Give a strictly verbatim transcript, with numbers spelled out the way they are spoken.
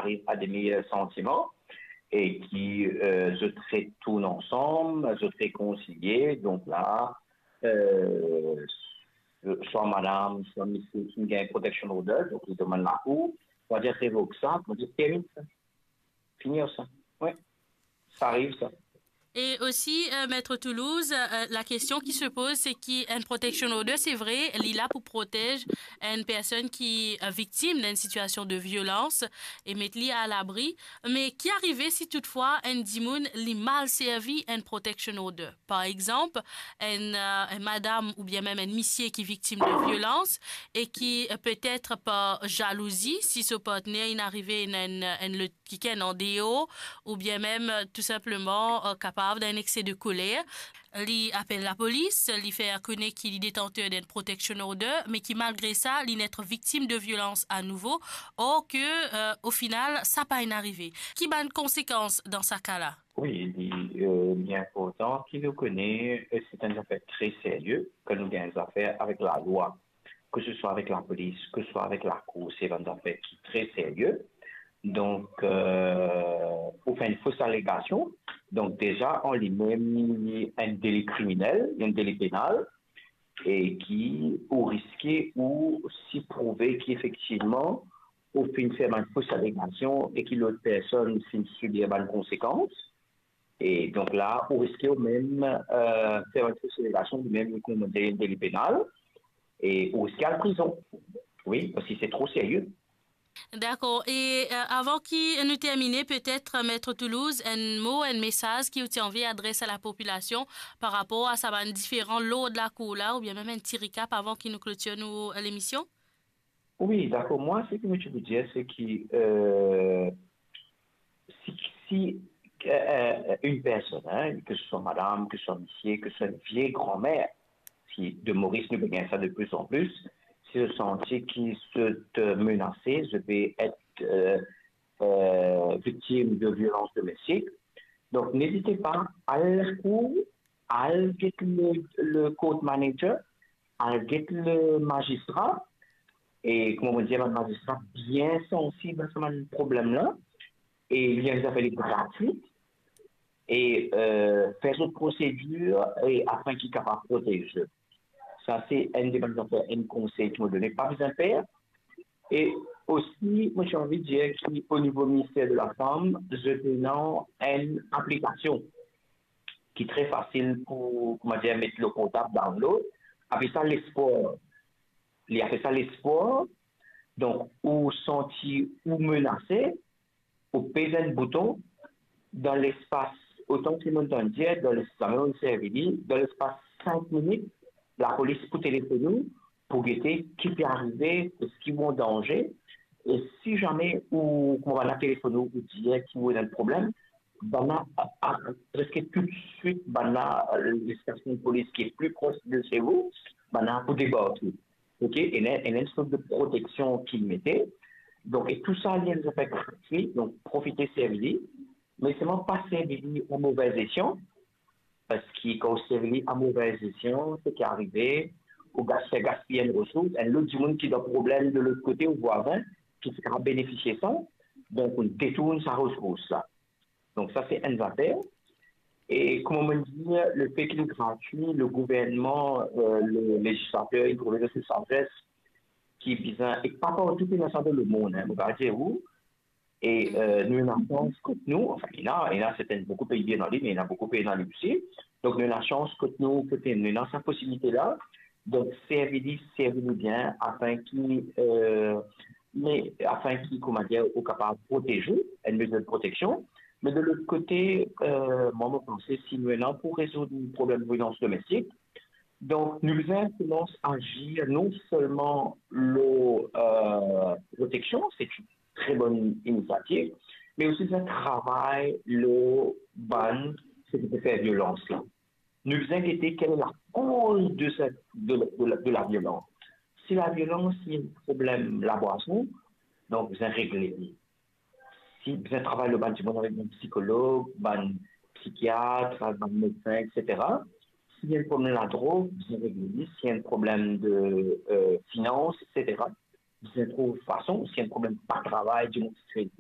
ariv a de meyer santiman e ki, euh, zot retourn ansam, zot rekonsilie. Donk la, euh, swa madam, swa misie, ki gagn protection order, donk li demann lakour, pou dir revok sa, pou dir termin sa. Fini sa. Wi. Sa ariv sa. E osi, euh, Maître Toulouse, euh, la kestion ki se poz, se ki enn protection order, se vre, li la pou protez enn personn ki, euh, viktim dan enn sitiasion de violans e met li a labri. Me ki arive si toutfwa enn dimoun li mal servi enn protection order? Par exanp, enn, euh, enn madam oubien mem enn misie ki viktim de violans e ki, euh, petet par zalouzi, si so partner inn arive enn, enn, enn lot kikenn andeor, oubien mem, euh, tou sinpleman, euh, kapav dan enn exse de koler. Li apel lapolis, li fer kone ki li detanter d'enn protection order, me ki malgre sa, li net viktim de violans anouvo, or ke, euh, o final, sa pa inn arive. Ki bann konsekans dan sa ka la? Wi, li, euh, li inportan ki nou kone, euh, se enn zafer tre serye, kan nou gagn zafer avek lalwa, ke se swa avek lapolis, ke se swa avek lakour, se bann zafer ki tre serye. Donk, euh, ou fer enn fos alegasion, donk deza an limem, li enn deli kriminel, enn deli penal, e ki ou riske ou si prouve ki efektivman ou finn fer bann fos alegasion e ki lot personn finn sibir bann konsekans. E donk la, ou riske ou mem, euh, fer enn fos alegasion, ou mem, kouma dir, enn deli penal, e ou riske al prizon. Wi, parski se tro serye. Dakor. E, euh, avan ki nou termine, petet, euh, Maître Toulouse, enn mo, enn mesaz ki ou ti anvi adres a lapopilasion par rapor a sa bann diferan lord lakour la, oubien mem enn ti recap avan ki nou klotir nou, euh, lemision? Wi, dakor. Mwa, seki mo ti pou dir, se ki, euh, si, si, euh, euh, enn personn, hein, ke se swa madam, ke se swa misie, ke se swa enn vie granmer, ki de Moris nou pe gagn sa de pli an pli, si zot santi ki zot, euh, menase, zot pe et, euh, euh, viktim de violans domestik, donk nezit pa, al lakour, al get le, le court manager, al get le mazistra, e kouma mo dir, bann mazistra bien sansib a sa bann problem la, e li enn zafer li gratwi, e, euh, fer zot prosedir, e afin ki kapav protez zot. Sa se enn de bann zafer, enn konsey ki mo done, pa bizin per. E osi, mo ti anvi dir ki o nivo Minister de Lafam, zot ena enn aplikasion ki tre fasil pou, kouma dir, met lor portab, download, apel sa Lespwar. Li apel sa Lespwar. Donk, ou santi ou menase, ou pez enn bouton, dan lespas, otan ki mo tann dir, dan lespas, zame mo servi li, dan lespas sink minit, lapolis pou telefonn ou, pou gete ki pe arive, eski ou an danze, e si zame ou, kouma bann la telefonn ou, ou dir ki ou ena enn problem, bann la, a, a, preske toutswit, bann la, lestasion polis ki pli pros de se ou, bann la pou debarke. Ok, ena, ena enn sort de proteksion ki mete. Donk, e tou sa, li enn zafer gratwi, donk profite servi li, me selman pa servi li a move esyan, parski kan ou servi li a move esyan, seki arive, ou gas-, fer gaspiy enn resours, enn lot dimoun ki dan problem de lot kote, ou vwazin, ki ti kapav benefisie sa, donk ou detourn sa resours la. Donk sa se enn zafer. E kouma mo dir, lefe ki li gratwi, le gouvernman, euh, le lezislater, li trouve se sa pres ki bizin, e pa partou ki ena sa dan lemond, hein, mo pa dir ou. E, euh, nou ena sans kot nou, anfin, ena, ena serten, boukou pei pena li, me ena boukou pena li osi. Donk nou ena sans kot nou, kot nou ena sa posibilite la. Donk servi li, servi li bien, afin ki, euh, me afin ki, kouma dir, ou kapav protez ou, enn mezir de proteksion. Me de lot kote, euh, mwa, mo panse, si nou ena pou rezoud problem violans domestik, donk nou bizin koumans azir non selman lor, euh, proteksion, se enn tre bonn inisiativ, me osi bizin travay lor bann seki pe fer violans la. Nou bizin gete kel lakoz de sa, de, de, de laviolans. Si laviolans se enn problem labwason, donk bizin regle li. Si bizin travay lor bann dimoun avek bann psikolog, bann psikiat, bann medsin, et cetera. Si enn problem ladrog, bizin regle li. Si enn problem de, euh, finans, et cetera, bizin trouv fason. Si enn problem pa travay, dimoun ti trete,